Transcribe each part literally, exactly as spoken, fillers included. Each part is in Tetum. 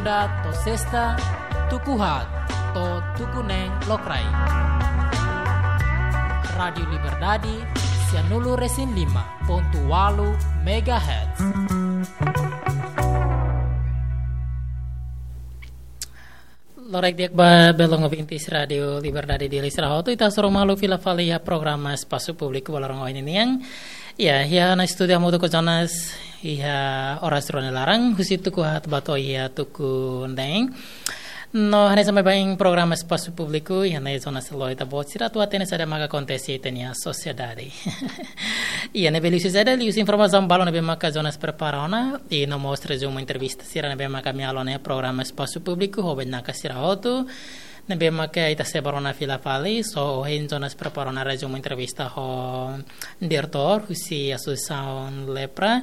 To'o sesta, tuku haat to'o tuku neen lokraik. Rádiu Liberdade, sia nulu resin lima pontu ualu megahertz. Loraik di'ak ba belun ouvintes Rádiu Liberdade Dili sira hotu, ita hasoru malu fila fali iha programa Espasu Públiku ba loron ohin nian. Ya, iha ona estúdiu hamutuk ho Jonas, iha oras rua nia laran, husi tuku haat ba to'o iha tuku neen. No, hanesan baibain programa Espasu Públiku, iha ne'e Jonas lori ita-boot sira atu hatene saida maka akontese iha ita-nia sosiedade. Iha ne'ebé liuhusi saida, liuhusi informasaun balu ne'ebé maka Jonas prepara ona, i no mós rezumu entrevista sira ne'ebé maka ami halo iha programa Espasu Públiku ho bainaka sira hotu, ne'ebé maka ita sebar ona fila fali. So, ohin Jonas prepara ona rezumu entrevista ho diretór husi Asosiasaun Lepra,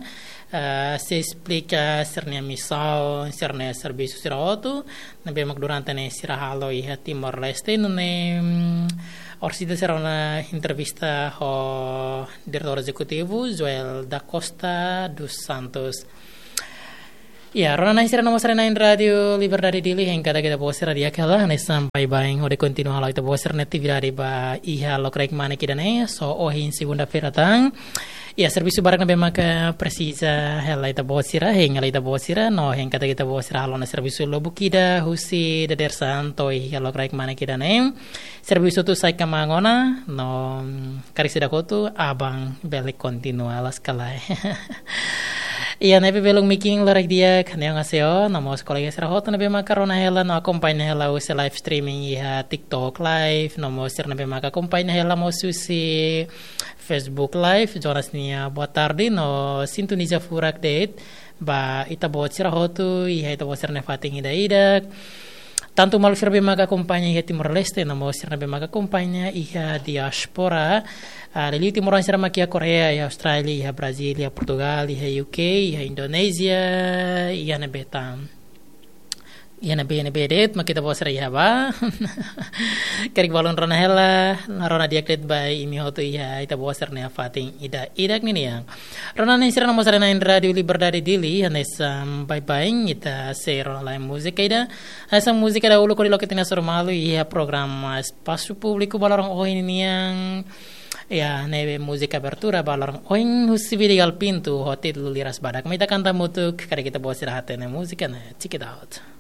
eh, sei esplika sira-nia misaun, sira-nia servisu sira hotu ne'ebé mak durante ne'e sira halo iha Timor-Leste, nune'e, mm, orsida sira rona entrevista ho diretór ezekutivu Joel da Costa dos Santos. Ya, rona-na'in sira no mós haree-na'in Rádiu Liberdade Dili, hein katak ita-boot sira di'ak hela, hanesan baibain hodi kontinua halo ita-boot sira-nia atividade ba iha lokraik manek ida-ne'e, so ohin segunda-feira tan. Ya, servisu barak ne'ebé maka presiza hela ita-boot sira, hein hela ita-boot sira, no hein katak ita-boot sira halo ona servisu lubuk ida husi dadeer-saan to'o iha lokraik manek ida-ne'e. Servisu hotu sai kmaan ona, no, mm, karik seidauk hotu, aban bele kontinua loos ka lae. Iha ne'ebé belun mekin loraik di'ak, annyeonghaseyo, no mós kolega sira hotu ne'ebé maka rona hela, no akompaña hela husi live streaming iha TikTok live, no mós sira ne'ebé maka akompaña hela mós husi Facebook live, Jonas nia boa tarde, no sintoniza furak de'it ba ita-boot sira hotu, iha ita-boot sira-nia fatin ida-idak. Tantu maluk sira ne'ebé maka akompaña iha Timor-Leste, no mós sira ne'ebé maka akompaña iha diáspora. Ah, liuliu timoroan sira mak iha Koreia, iha Austrália, iha Brazíl, iha Portugal, iha U K, iha Indonézia, iha ne'ebé tan. Iha ne'ebé, ne'ebé de'it mak ita-boot sira iha ba. Karik balun rona hela, no rona di'ak de'it ba imi hotu iha ita-boot sira-nia fatin ida-idak ninian. Rona-na'in sira no mós haree-na'in Rádiu Liberdade Dili, hanesan baibain ita sei rona lai múzika ida. Hanesan múzika ida uluk hodi loke ita-nia hasoru malu iha programa Espasu Públiku ba loron ohin nian. Ya, ne'ebé múzika abertura ba loron ohin husi Vidigal Pinto ho títulu Liras Badak. Mai ita kanta hamutuk, karik ita-boot sira hatene múzika ne'e. Check it out.